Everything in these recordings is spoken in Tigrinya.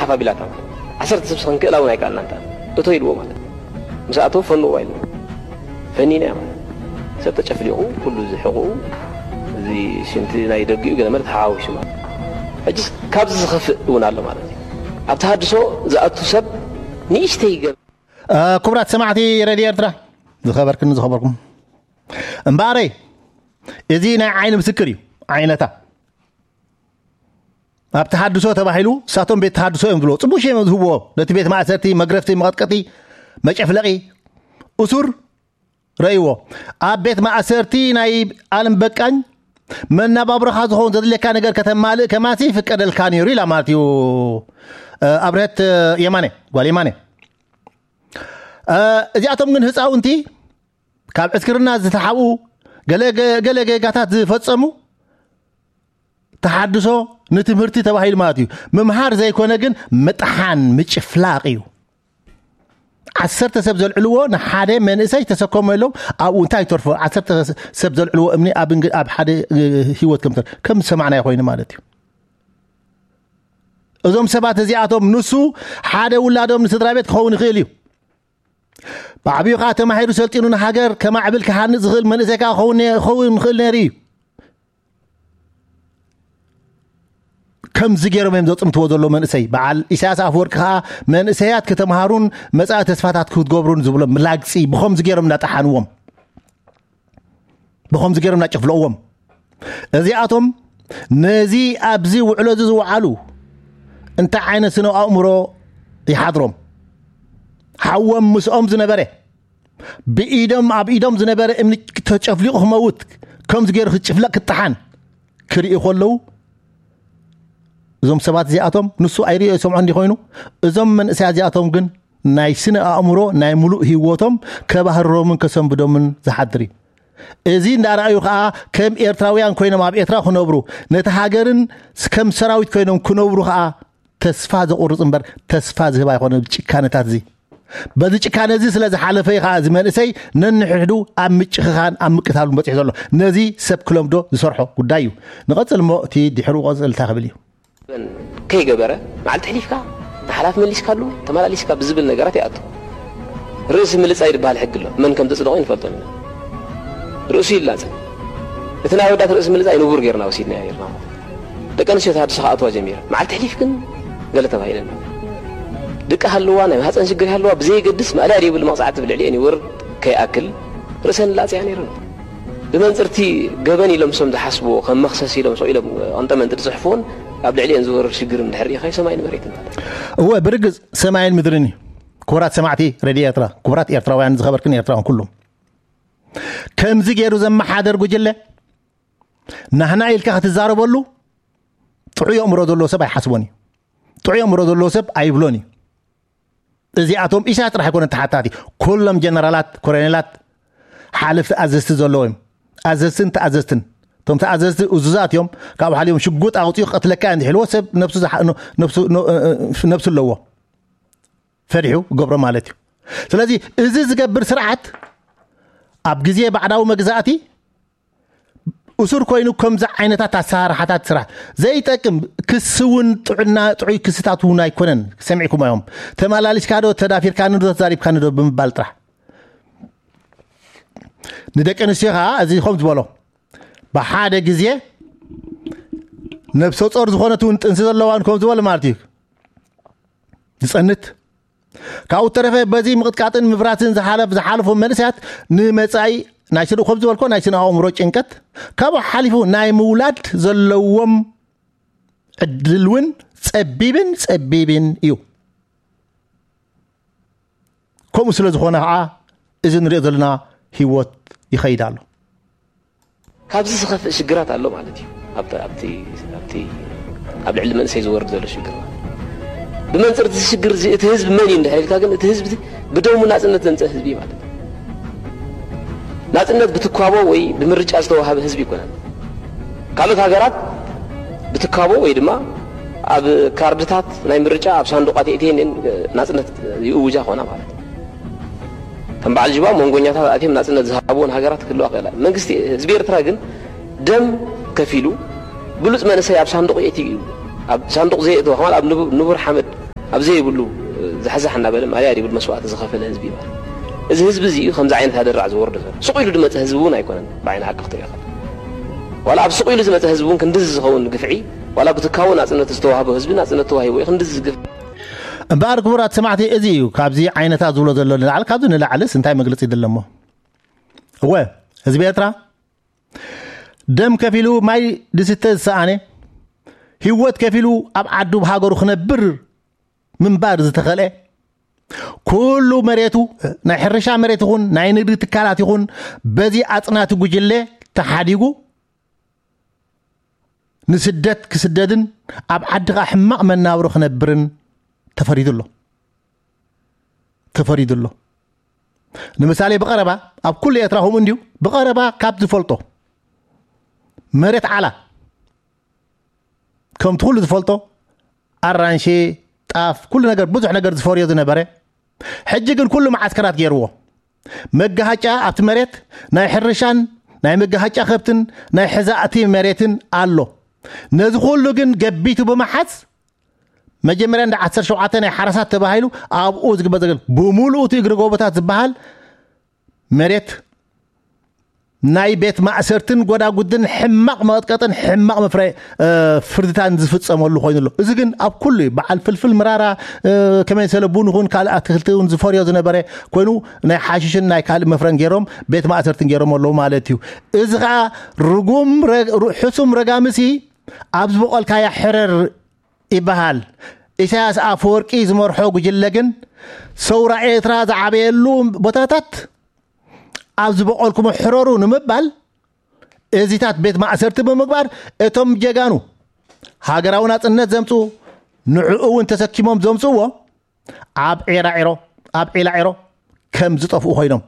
ተፋቢላታ ማለት ዓሰርተ ሰብ ክንክእላ እውን ኣይከኣልና እንታ እቶ ኢልዎ ማለት ምስ ኣተው ፈንዎ ኢሉ ፈኒና ማለት ሰብ ተጨፍሊቑ ኩሉ ዝሕቑ እዚ ሽንቲ ናይ ደጊኡ ገለ ማለት ተሓዋዊሱ ማለት ሕጅስ ካብዚ ዝኸፍእ እውን ኣሎ ማለት እዩ። ኣብ ተሃድሶ ዝኣቱ ሰብ ንእሽተይ ገብ ክቡራት ሰማዕቲ ሬድዮ ኤርትራ ዝኸበርክን ዝኸበርኩም እምበኣረይ እዚ ናይ ዓይኒ ምስክር እዩ። ዓይነታ ኣብ ተሃድሶ ተባሂሉ እሳቶም ቤት ተሃድሶ እዮም ዝብልዎ ጽቡሽ እዮም ዝህብዎ ነቲ ቤት ማእሰርቲ መግረፍቲ መቐጥቀጢ መጨፍለቒ እሱር ረእይዎ ኣብ ቤት ማእሰርቲ ናይ ኣለም በቃኝ መናባብሮኻ ዝኸውን ዘድልየካ ነገር ከተማልእ ከማሲ ይፍቀደልካ ነይሩ ኢላ ማለት እዩ። ኣብርሀት የማነ ጓል የማነ እዚኣቶም ግን ህፃውንቲ ካብ ዕስክርና ዝተሓብኡ ገለ ገጋታት ዝፈፀሙ ተሓድሶ ንትምህርቲ ተባሂሉ ማለት እዩ ምምሃር ዘይኮነ ግን ምጥሓን ምጭፍላቕ እዩ። ዓሰርተ ሰብ ዘልዕልዎ ንሓደ መንእሰይ ተሰከሞ የሎም ኣብኡ እንታይ ይተርፎ ዓሰርተ ሰብ ዘልዕልዎ እምኒ ኣብ ሓደ ህይወት ከም ከም ዝሰማዕናዮ ኮይኑ ማለት እዩ። እዞም ሰባት እዚኣቶም ንሱ ሓደ ውላዶም ንስድራ ቤት ክኸውን ይኽእል እዩ። ብዓብዩ ከዓ ተማሂሩ ሰልጢኑ ንሃገር ከማዕብል ክሃንፅ ዝኽእል መንእሰይ ከዓ ክኸውን ይኽእል ነይሩ እዩ። ከምዚ ገይሮም እዮም ዘፅምትዎ ዘሎ መንእሰይ በዓል ኢሳያስ ኣፍወርቂ ከዓ መንእሰያት ክተምሃሩን መፃኢ ተስፋታት ክትገብሩን ዝብሎም ላግፂ ብኸምዚ ገይሮም እናጠሓንዎም ብኸምዚ ገይሮም እናጨፍለቕዎም እዚኣቶም ነዚ ኣብዚ ውዕሎ እዚ ዝወዓሉ እንታይ ዓይነት ስነ ኣእምሮ ይሓድሮም ሓዎም ምስኦም ዝነበረ ብኢዶም ኣብ ኢዶም ዝነበረ እምኒ ተጨፍሊቑ ክመውት ከምዚ ገይሩ ክጭፍለቕ ክጠሓን ክርእዩ ከለዉ እዞም ሰባት እዚኣቶም ንሱ ኣይርእዮ ይሰምዖ እንዲ ኮይኑ እዞም መንእሰያ እዚኣቶም ግን ናይ ስነ ኣእምሮ ናይ ሙሉእ ህይወቶም ከባህርሮምን ከሰንብዶምን ዝሓድር እዩ። እዚ እንዳረኣዩ ከዓ ከም ኤርትራውያን ኮይኖም ኣብ ኤርትራ ክነብሩ ነቲ ሃገርን ከም ሰራዊት ኮይኖም ክነብሩ ከዓ ተስፋ ዘቑርፅ እምበር ተስፋ ዝህብ ኣይኮነ ጭካነታት እዚ በዚ ጭካነ እዚ ስለ ዝሓለፈ እዩ ከዓ እዚ መንእሰይ ነንሕድሕዱ ኣብ ምጭኽኻን ኣብ ምቅታሉን በፂሑ ዘሎ ነዚ ሰብ ክለምዶ ዝሰርሖ ጉዳይ እዩ። ንቐፅል እሞ እቲ ድሕሩ ቀፅል እንታይ ክብል እዩ። ከይገበረ መዓልቲ ሕሊፍካ ንሓላፍ መሊስካሉ ተመላሊስካ ብዝብል ነገራት ይኣቱ። ርእሲ ምልጻይ ዝበሃል ሕጊ ኣሎ። መን ከም ተጽደቖ ይንፈልጦን ኢና። ርእሱ ይላጸ። እቲ ናይ ኣወዳት ርእሲ ምልጻይ ንቡር ጌርና ወሲድናዮ ኔርና ማለት እዩ። ደቂ ኣንስትዮ ተሃድሶ ክኣትዋ ጀሚረን። መዓልቲ ሕሊፍ ግን ገለ ተባሂለን። ድቂ ሃለዋ፣ ናይ ማህጸን ሽግር ይሃለዋ ብዘየገድስ ማእለያ ዘይብሉ መቕጻዕቲ ብልዕሊኤን ይወርድ ከይኣክል ርእሰን ላጽያ ኔረን። ብመንጽርቲ ገበን ኢሎም እሶም ዝሓስብዎ ከም መኽሰስ ኢሎም ስቕ ኢሎም ቐንጠመንጢ ዝጽሕፍዎን ኣብ ልዕሊኤን ዝወርድ ሽግር እንድሕር ርኢኻዮ ሰማይን መሬትን ማለት እዩ። እወ ብርግጽ ሰማይን ምድርን እዩ። ክቡራት ሰማዕቲ ሬድዮ ኤርትራ፣ ክቡራት ኤርትራውያን ዝኸበርክን ኤርትራውያን ኩሉም ከምዚ ገይሩ ዘመሓደር ጉጅለ ናህና ኢልካ ክትዛረበሉ ጥዑይ ኣእምሮ ዘለዎ ሰብ ኣይሓስቦን እዩ። ጥዑይ ኣእምሮ ዘለዎ ሰብ ኣይብሎን እዩ። እዚኣቶም ኢሳያስ ጥራሕ ኣይኮነን ተሓታቲ፣ ኩሎም ጀነራላት፣ ኮሎኔላት፣ ሓለፍቲ ኣዘዝቲ ዘለዎም እዮም። ኣዘዝትን ተኣዘዝትን እቶም ተኣዘዝቲ እዙዛት እዮም። ካብኡ ሓሊፎም ሽጉጥ ኣውፂኡ ክቐትለካ እንድሕልዎ ሰብ ነብሱ ዝሓ- ነ- ነብሱ ነ- ነብሱ ኣለዎ ፈሪሑ ገብሮ ማለት እዩ። ስለዚ እዚ ዝገብር ስርዓት ኣብ ግዜ ባዕዳዊ መግዛእቲ እሱር ኮይኑ ከምዚ ዓይነታት ኣሰራርሓታት ስራሕ ዘይጠቅም ክሲ እውን ጥዑና ጥዑይ ክስታት እውን ኣይኮነን። ሰሚዕኩም እዮም ተመላሊስካ ዶ ተዳፊርካኒ ዶ ተዛሪብካኒ ዶ ብምባል ጥራሕ ንደቂ ኣንስትዮ ከዓ እዚ ከም ዝበሎ ብሓደ ግዜ ነብሰ ጾር ዝኾነት እውን ጥንሲ ዘለዋን ከም ዝበሎ ማለት እዩ ዝጸንት ካብኡ ተረፈ በዚ ምቕጥቃጥን ምፍራስን ዝሓለፍ ዝሓለፎም መንእሰያት ንመጻኢ ናይ ስነ ከም ዝበልኮ ናይ ስነ ኣእምሮ ጭንቀት ካብኡ ሓሊፉ ናይ ምውላድ ዘለዎም ዕድል እውን ጸቢብን ጸቢብን እዩ። ከምኡ ስለ ዝኾነ ከዓ እዚ ንሪኦ ዘለና ህይወት ይኸይድ ኣሎ። ካብዚ ዝኸፍእ ሽግራት ኣሎ ማለት እዩ። ኣብቲ ኣብቲ ኣብቲ ኣብ ልዕሊ መንእሰይ ዝወርድ ዘሎ ሽግር ማለት ብመንፅር እዚ ሽግር እዚ እቲ ህዝቢ መን እዩ እንድሕር ኢልካ ግን እቲ ህዝቢ ብደሙ ናፅነት ዘምፀእ ህዝቢ እዩ ማለት እዩ። ናፅነት ብትኳቦ ወይ ብምርጫ ዝተዋሃበ ህዝቢ ይኮነን። ካልኦት ሃገራት ብትካቦ ወይ ድማ ኣብ ካርድታት ናይ ምርጫ ኣብ ሳንዱቓት የእትየን ናፅነት ይእውጃ ኾና ማለት እዩ። ከም በዓል ጅባ መንጎኛታት ኣትዮም ናፅነት ዝሃብዎን ሃገራት ክህልዋ ክእላ። መንግስቲ ህዝቢ ኤርትራ ግን ደም ከፊሉ ብሉፅ መንእሰይ ኣብ ሳንዱቕ የእትዩ እዩ። ኣብ ሳንዱቕ ዘየእትወ ከማል ኣብ ንቡር ሓመድ ኣብ ዘይብሉ ዝሕዛሕ እናበለ ማልያ ይብል መስዋእቲ ዝኸፈለ ህዝቢ እዩ። እዚ ህዝቢ እዚ እዩ ከምዚ ዓይነት ኣደራዕ ዝወርዶ ዘሎ። ስቕ ኢሉ ዝመፀ ህዝቢ እውን ኣይኮነን። ብዓይኒ ሓቂ ክትሪኦ ከለኻ፣ ዋላ ኣብ ስቕ ኢሉ ዝመፀ ህዝቢ እውን ክንድዚ ዝኸውን ግፍዒ፣ ዋላ ብትካቦ ናፅነት ዝተዋህቦ ህዝቢ ናፅነት ተዋሂቦ እዩ ክንድዚ ግፍዒ። እምበኣር ክቡራት ሰማዕቲ፣ እዚ እዩ ካብዚ ዓይነታት ዝብሎ ዘሎ ንላዕሊ፣ ካብዚ ንላዕልስ እንታይ መግለፂ ይደለሞ? እወ፣ ህዝቢ ኤርትራ ደም ከፊሉ ማይ ዝስተ ዝሰኣነ፣ ህይወት ከፊሉ ኣብ ዓዱ ብሃገሩ ክነብር ምንባር ዝተኸልአ፣ ኩሉ መሬቱ፣ ናይ ሕርሻ መሬት ይኹን ናይ ንግዲ ትካላት ይኹን በዚ ኣጽናቲ ጉጅለ ተሓዲጉ ንስደት ክስደድን ኣብ ዓዲ ኸኣ ሕማቕ መናብሮ ክነብርን ተፈሪዱ ኣሎ። ተፈሪዱ ኣሎ። ንምሳሌ ብቐረባ ኣብ ኩሉ ኤርትራ ከምኡ እንድዩ። ብቐረባ ካብ ዝፈልጦ መሬት ዓላ ከምቲ ኩሉ ዝፈልጦ ኣራንሺ፣ ጣፍ፣ ኩሉ ነገር፣ ብዙሕ ነገር ዝፈርዮ ዝነበረ፣ ሕጂ ግን ኩሉ መዓስከራት ገይርዎ። መጋሃጫ ኣብቲ መሬት ናይ ሕርሻን ናይ መጋሃጫ ከብትን ናይ ሕዛእቲ መሬትን ኣሎ። ነዚ ኩሉ ግን ገቢቱ ብምሓዝ መጀመርያ እንዳ ዓሰርተ ሸውዓተ ናይ ሓረሳት ተባሂሉ ኣብኡ ዝግበር ዘገል ብምሉኡ እቲ እግሪ ጎቦታት ዝበሃል መሬት ናይ ቤት ማእሰርትን ጎዳጉድን ሕማቕ መቐጥቀጥን ሕማቕ መፍረ ፍርድታን ዝፍጸመሉ ኮይኑ ኣሎ። እዚ ግን ኣብ ኩሉ እዩ። በዓል ፍልፍል ምራራ ከመይ ሰለ ቡን ይኹን ካልእ ኣትክልቲ እውን ዝፈርዮ ዝነበረ ኮይኑ ናይ ሓሽሽን ናይ ካልእ መፍረን ገይሮም ቤት ማእሰርትን ገይሮም ኣለዉ ማለት እዩ። እዚ ከዓ ርጉም ሕሱም ረጋምሲ ኣብ ዝበቆልካያ ሕረር ይበሃል። ኢሳያስ ኣፈወርቂ ዝመርሖ ጉጅለ ግን ሰውራ ኤርትራ ዝዓበየሉ ቦታታት ኣብ ዝበቆልኩሞ ሕረሩ ንምባል እዚታት ቤት ማእሰርቲ ብምግባር እቶም ጀጋኑ ሃገራዊ ናጽነት ዘምጽኡ ንዕኡ እውን ተሰኪሞም ዘምጽእዎ ኣብ ዒራዒሮ ኣብ ዒላዒሮ ከም ዝጠፍኡ ኮይኖም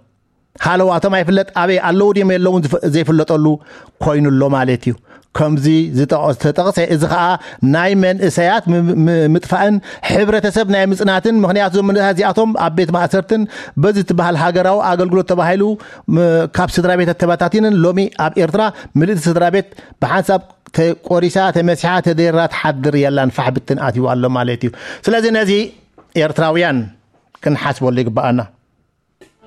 ሃለዋቶም ኣይፍለጥ ኣበይ ኣለዉ ድዮም የለውን ዘይፍለጠሉ ኮይኑ ኣሎ ማለት እዩ። ከምዚ ዝተጠቕሰ እዚ ከዓ ናይ መንእሰያት ምጥፋእን ሕብረተሰብ ናይ ምጽናትን ምኽንያቱ እዞም መንእሰያት እዚኣቶም ኣብ ቤት ማእሰርትን በዚ ትበሃል ሃገራዊ ኣገልግሎት ተባሂሉ ካብ ስድራ ቤት ተበታቲንን ሎሚ ኣብ ኤርትራ ምልእቲ ስድራ ቤት ብሓንሳብ ተቆሪሳ ተመሲሓ ተደራ ትሓድር የላን ፋሕ ብትን ኣትዩ ኣሎ ማለት እዩ። ስለዚ ነዚ ኤርትራውያን ክንሓስበሉ ይግባኣና።